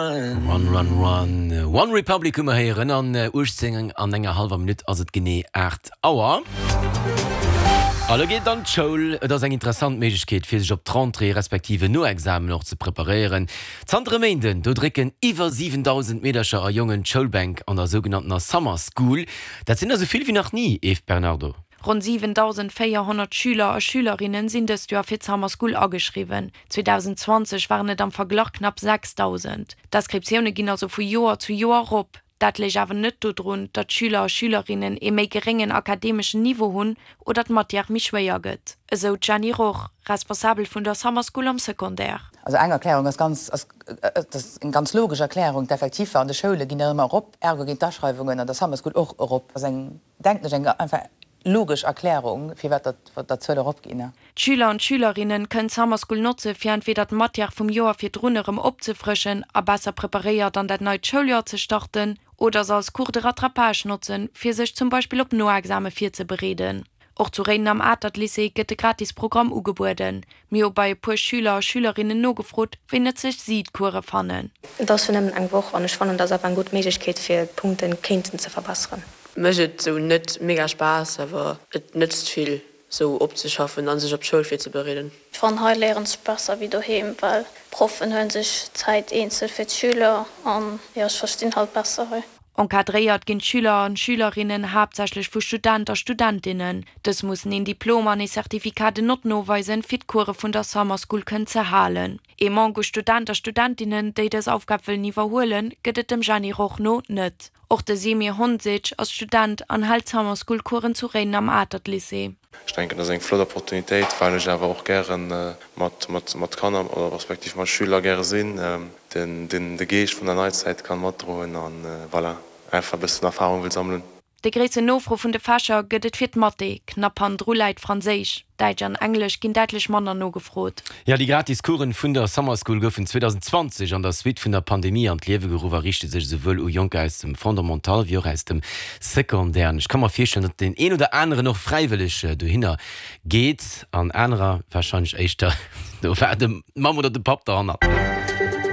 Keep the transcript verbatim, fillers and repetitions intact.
Run, run, run. One Republic hu mer héieren. An uechtzéng an enger hallwer Minutt ass et genee aacht Auer. A lo geet et an d'Schoul. Et ass eng interessant Méiglechkeet, fir sech op d'Rentrée respektiv en Noexamen och ze preparéieren. Zanter e Méinden, do drécken iwwer siwendausend Meedercher a Jongen d'Schoulbänk an der sougenanntener Summer School. Dat sinn der esou vill wéi nach ni, Eve Bernardo. Ronn siwendausendvéierhonnert Schüler a Schülerinne sinn dëst Joer fir d'Summer School ageschriwwen. zweedausenzwanzeg waren et am Verglach knapp sechsdausend. D'Inscriptioune ginn also vu Joer zu Joer erop. Dat léich awer net dodrun, datt d'Schüler a Schülerinnen ee méi geréngen akademeschen Niveau hunn oder d'Matière méi schwéier gëtt, esou d'Jenny Roch, Responsabel vun der Summer School am Secondaire. Also eng Erklärung ass ganz, ass, dat ass eng ganz logesch Erklärung, D'Effektiver an de Schoule ginn ëmmer erop, ergo ginn d'Aschreiwungen an der Summer School och erop. Dat ass eng, denken ech, eng einfach logesch Erklärung, firwat datt d'Zuele eropginn. D'Schüler an d'Schülerinne kënnen d'Summer School notze fir entweder d'Matière vum Joer virdrun erëm opzefrëschen a besser preparéiert an dat neit Schouljoer ze starten, oder se als Cours de rattrapage notzen, fir sech zum Beispill op Noexame virzebereeden. Och zu Réiden am Atert-Lycée gëtt de gratis Programm ugebueden. Mir hu bei e puer Schüler a Schülerinnen nogefrot, wéi nëtzlech si d'Course fannen. Et ass jo nëmmen eng Woch an ech fannen, et ass awer eng gutt Méiglechkeet fir d'Punkte kéinten ze verbesseren. Mécht et sou net mega Spaass, awer et nëtzt vill sou opzeschaffen an sech op d'Schoul virzebereeden. Ech fannen hei léieren sech besser wéi doheem, well d'Proffen huelen sech Zäit eenzel fir d'Schüler an jo ech verstinn halt besser hei. Encadréiert ginn d'Schüler an Schülerinnen haaptsächlech vu Student a Studentinnen. Dës mussen een Diplom an ee Certificat de notes noweisen, fir d'Course vun der Summer School kënnen ze halen. Ee Manque u Student a Studentinnen, déi dës Aufgab wëllen iwwerhuelen, gëtt et dem Jeanny Roch no net. Och de Semir Honsic ass Student an hält Summer School Coursen zu Réiden am Atert Lycée. Ech denken, dat ass eng flott Opportunitéit, well ech awer och gäre mat mat Kanner oder respektiv mat Schüler gäre sinn, den de Geescht vun der Neizäit kann matdroen an voilà, einfach e bëssen Erfahrung wëll sammelen. Déi gréissten Nofro vun de Fächer gëtt et fir d'Mathé, knapp hannendru läit Franséisch. Däitsch an Englesch ginn däitlech manner nogefrot. Jo, déi gratis Coursen vun der Summer School goufen zweedausenzwanzeg an der Suite vun der Pandemie an d'Liewe geruff a riichte sech esouwuel u Jonker aus dem Fondamental wéi och aus dem Secondaire. An ech ka mer virstellen, datt deen een oder aneren och fräiwëlleg dohinner geet an anerer warscheinlech éischter do war d'Mamm oder de Papp derhannert.